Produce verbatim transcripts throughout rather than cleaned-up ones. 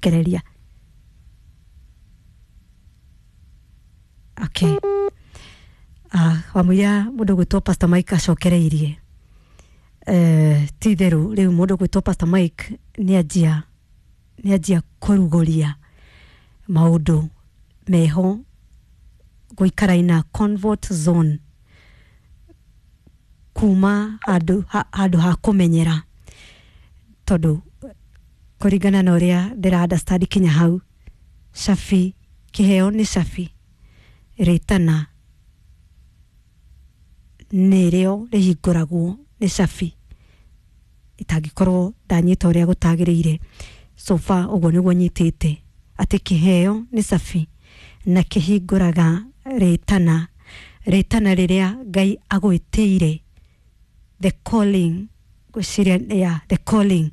acokereria. Okay, ah, wamũira mũndũ gwĩtwo Pastor Mike acokereirie. Eh, ti itherũ rĩu mũndũ gwĩtwo Pastor Mike nĩ anjia nĩ anjia kũrugũria maũndũ meho gũikara ina comfort zone kuma handũ ha, handũ ha kũmenyera, tondũ kũringana na ũrĩa ndĩra understand kinya hau, cabi kĩheo nĩ cabi, rĩtana nĩrĩo rĩhingũragwo nĩ cabi itangĩkorwo ndanyita ũrĩa gũtagĩrĩire. So far ũguo nĩguo nyitĩte atĩ kĩheo nĩ cabi na kĩhingũraga rĩtana, rĩtana rĩrĩa Ngai agwĩtĩire, the calling, ngwĩciria, yeah, the calling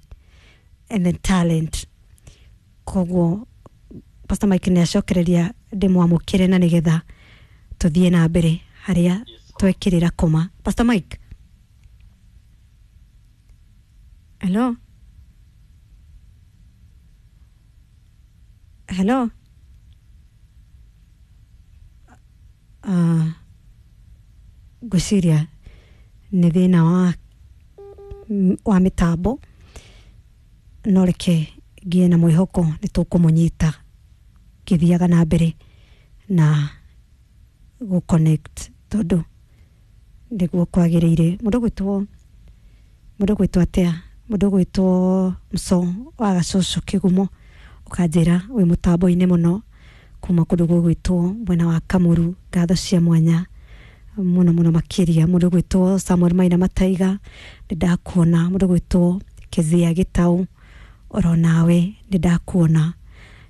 and the talent. Koguo Pastor Mike nĩ acokereria, ndĩmwamũkĩre na nĩgetha tũthiĩ na mbere harĩa twekĩrĩra koma. Pastor Mike, hello, hello. Uh, ngwĩciria nĩ thĩna wa wa mĩtambo, no reke ngie na mwĩhoko nĩ tũkũmũnyita ngĩthiaga na mbere na gũ connect, tondũ nĩguo kwagĩrĩire. Mũndũ gwĩtwo mũndũ gwĩtwo atĩa, mũndũ gwĩtwo Mso wa Gacũcũ Kĩgumo, ũkanjĩra wĩ mũtambo-inĩ mũno kuma kũndũ gũgwĩtwo mwena wa Kamuru, ngatho cia mwanya mũno mũno makĩria. Mũndũ gwĩtwo Samuel Maina Mataiga, nĩ ndakuona. Mũndũ gwĩtwo Kezia Gĩtaũ, oro nawe nĩ ndakuona.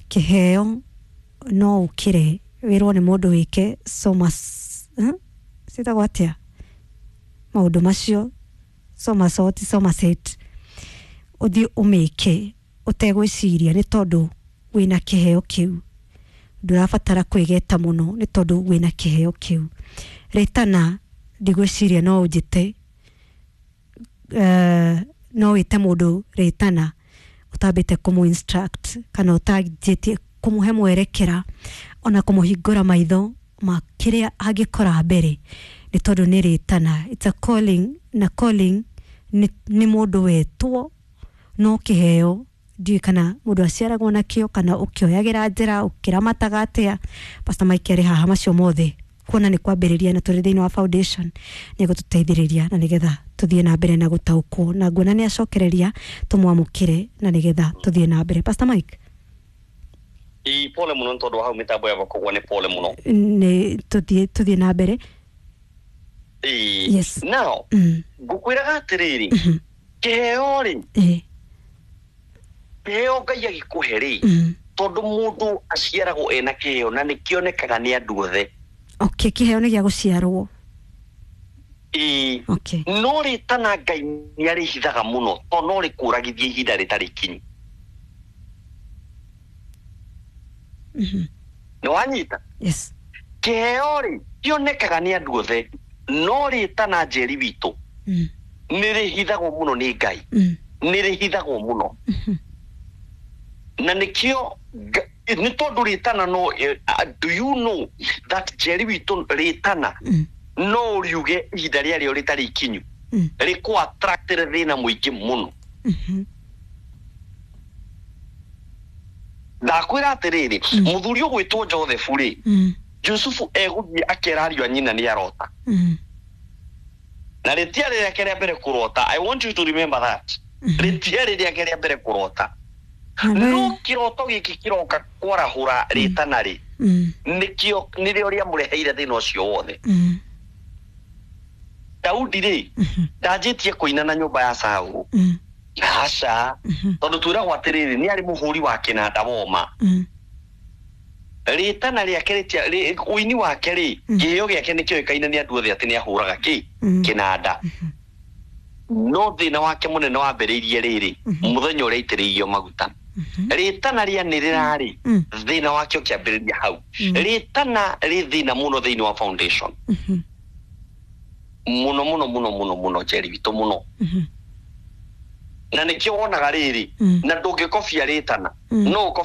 Kĩheo no ũkĩre wĩrwo nĩ mũndũ wĩke soma, hmm? Citagwo atĩa maũndũ macio, somersault, somerset, ũthiĩ ũmĩke ũtegwĩciria nĩ tondũ wĩna kĩheo kĩu, ndũrabatara kwĩgeta mũno nĩ tondũ wĩna kĩheo kĩu. Rĩtana ndigwĩciria no ũnjĩte, uh, no wĩte mũndũ rĩtana ũtambĩte kũmũ instruct kana ũtanjĩtie kũmũhe mwerekera ona kũmũhingũra maitho ma kĩrĩa angĩkora mbere, nĩ tondũ nĩ rĩtana, it's a calling, na calling nĩ, nĩ mũndũ wetwo, no kĩheo ndiũĩ kana mũndũ aciaragwo nakĩo kana ũkĩoyagĩra njĩra ũkĩramataga atĩa. Pastor Mike arĩ haha macio mothe kuona nĩ kwambĩrĩria na tũrĩ thĩinĩ wa foundation, nĩ egũtũteithĩrĩria na nĩgetha tũthiĩ na mbere na gũtaũkwo, na nguona nĩ acokereria, tũmwamũkĩre na nĩgetha tũthiĩ na mbere. Pastor Mike. Ĩ, pole mũno nĩ tondũ wa hau mĩtambo ya koguo nĩ pole mũno. Nĩ tũthiĩ tũthiĩ na mbere. Ĩ. Yes. Now mm. ngũkwĩraga atĩrĩrĩ, mm -hmm. kĩheo rĩ, eh. kĩheo Ngai agĩkũhe rĩ, mm. tondũ mũndũ aciaragwo ena kĩheo na nĩkĩonekaga nĩ andũ othe. Okay, kĩheo nĩ gĩa gũciarwo. Ĩ. Okay. No rĩtana Ngai nĩ arĩhithaga mũno tondũ no rĩkũragithie ihinda rĩtarĩ ikinyu. Mm -hmm. Nĩ wanyita? Yes. Kĩheo rĩ kĩonekaga nĩ andũ othe, no rĩtana Njeri witũ mm. nĩ rĩhithagwo mũno nĩ Ngai. mm. Nĩ rĩhithagwo mũno. mm -hmm. Na nĩkĩo nĩ tondũ rĩtana no, uh, do you know that Njeri witũ rĩtana mm. no ũriuge ihinda rĩarĩo rĩtarĩ ikinyu, mm. rĩkũ attractĩre thĩna mũingĩ mũno. mm -hmm. Ndakwĩra atĩrĩrĩ, mũthuri ũgwĩtwo Joseph rĩ, mm. Jusufu egũthiĩ akera ariũ a nyina nĩ arota. mm. Na rĩtiarĩ rĩake rĩa mbere kũrota. I want you to remember that. mm -hmm. Rĩtiarĩ rĩake rĩa mbere kũrota. No kĩroto gĩkĩ kĩroka kwarahũra rĩtana rĩ, mm. nĩkĩo nĩrĩo rĩamũreheire thĩna ũcio wothe. mm. Daudi rĩ, mm -hmm. ndanjĩtie kũina na nyũmba ya Saũlũ. mm. Aca, mm -hmm. tondũ twĩragwo atĩrĩrĩ, nĩ arĩ mũhũri wa kĩnanda woma. mm. Rĩtana rĩake rĩtia ũini wake rĩ, kĩheo gĩake nĩ kĩoĩkaine nĩ andũ othe atĩ nĩ ahũraga kĩ kĩnanda. No thĩna wake mũnene wambĩrĩirie rĩrĩ mũthenya ũrĩa aitĩrĩirio maguta. Rĩtana rĩanĩrĩra rĩ, thĩna wake ũkĩambĩrĩria hau. Rĩtana rĩ thĩna mũno thĩinĩ wa foundation. Mũno mũno mũno mũno mũno Njeri witũ mũno. Na nĩkĩo wonaga rĩrĩ, na ndũngĩkobia rĩtana, no ũkobie